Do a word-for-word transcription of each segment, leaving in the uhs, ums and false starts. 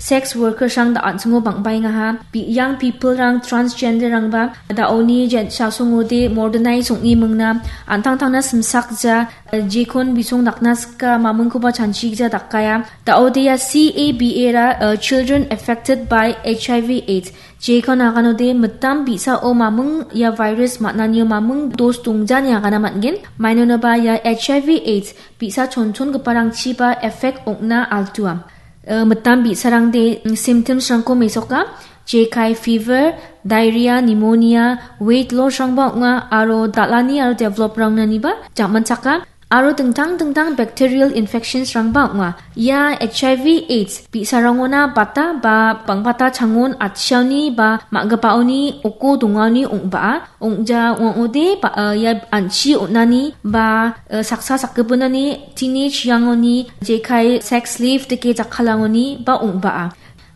Sex workersrang da an·chingo bang·baengaha. Bi-, young peoplerang, transgenderrangba da·oni jen-, chasongode modernize ong·e mingna, an·tangtangna simsakja, eh, jekon bisong dakna sika, mamingkoba chanchigija dakaia. Da·ode ia C A B A ra, eh, Children Affected by H I V AIDS. Jekon aganode mitam bi·sao maming ia virus man·anio maming dos dongjani agana man·gen. Mainonoba ia H I V AIDS bi·sa chonchongiparangchiba effect ong·na altua. Eh, mitam bi·sarangde, mm, symptomsrangko mesoka, jekai fever, diarrhea, pneumonia, weight lossrangba ong·a, aro dal·ani aro developrangnaniba jamanchaka, aro dingtang dingtang bacterial infectionsrangba ong·a. Ia H I V AIDS bi·sarangona bata ba bangbata changon atchiaoni ba ma·gipaoni oko dongaoni ong·baa. Ong·ja ong·ode ba, eh, ia an·chi on·ani ba, eh, saksa sakgipinani teenage youngoni jekai sex slave dake jakkalangoni ba ong·baa.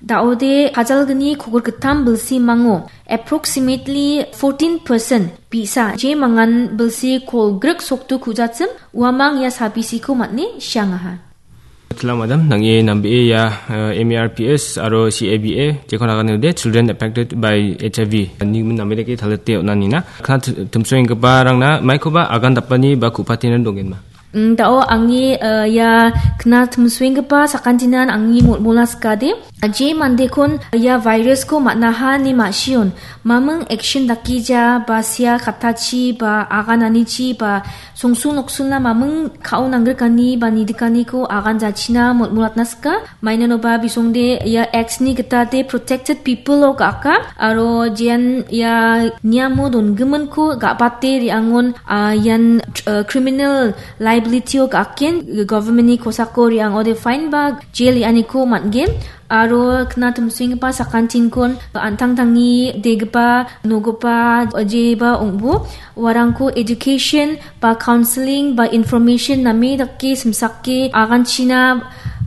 Da·ode kajalgni kogirgittam bilsimango approximately fourteen percent bi·sa je mangan bilsi kolgrik sokdu kujachim uamang ia sabisiko man·e siangaha. Tila madam, nang·e nambee ia, eh, M A R P S aro C A B A, jekon aganode Children Affected by H I V, nigimin name dake talate on·anina. Kna t-, timsoenggiparangna maikoba agan dapani ba ku·patinan dongenma. Mm, da·o angni, eh, ia kna timsoenggipa sakantinan angni molmola sikade, je mandekon ia virusko man·aha ine ma·sion, maming action dakija ba sia katachi ba agananichi ba songsul noksulna maming ka·o nanggrikani ba nidikaniko aganjachina molmolatna sika. Mainanoba bisongde ia X-ni gitade protected people-o ga·aka, aro jean ia niamo dongiminko ga·bate re·angon, ah, ian, eh, criminal liability-o ga·aken, government-ni kosako re·angode fine ba jail re·aniko man·gen. Aro kna timsoenggipa sakantinkon an·tangtangni degipa, nogipa, jeba ong·bo. Uarangko education ba counseling ba information name dake simsake aganchina,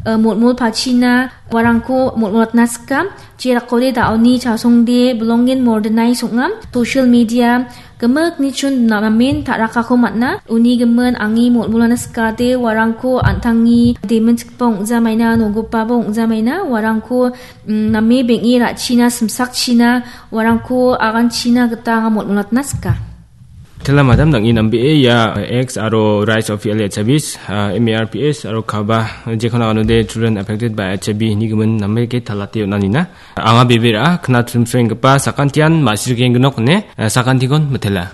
eh, molmolpachina uarangko molmolatna sika. Jerakode da·oni chasongde bilongen modernize ong·a. Social media gimikni chun namen ta·rakako man·a. Uni gimin angni molmolana sikade uarangko an·tangni demenchikgipa ong·jamaina, nogipaba ong·jamaina, uarangko, mm, name beng·e ra·china, simsakchina, uarangko aganchina gita anga molmolatna sika. Tela madam, nang·e nambee ia X aro Rise of L H I Vs, ah, M A R Ps aro kaba jekon aganode Children Affected by H I V nigimin nambeke talate on·anina. Anga bebe ra·a, kna timsoenggipa sakantian ma·sirgengnok ine, eh, sakantikon mitela.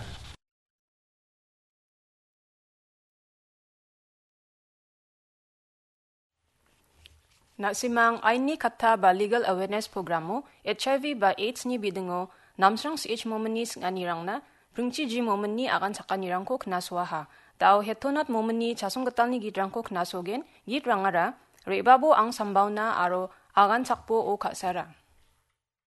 Na·simang aini katta ba legal awareness programo H I V ba AIDS-ni bidingo Namsrang C H Mominni sing·anirangna Pringchi G Mominni agan chakanirangko knasoaha. Da·o Hetonat Mominni chasonggitalni gitrangko knasogen, gitrangara Re·babo Ang Sambaona aro Agan Chakbo O Ka·sara.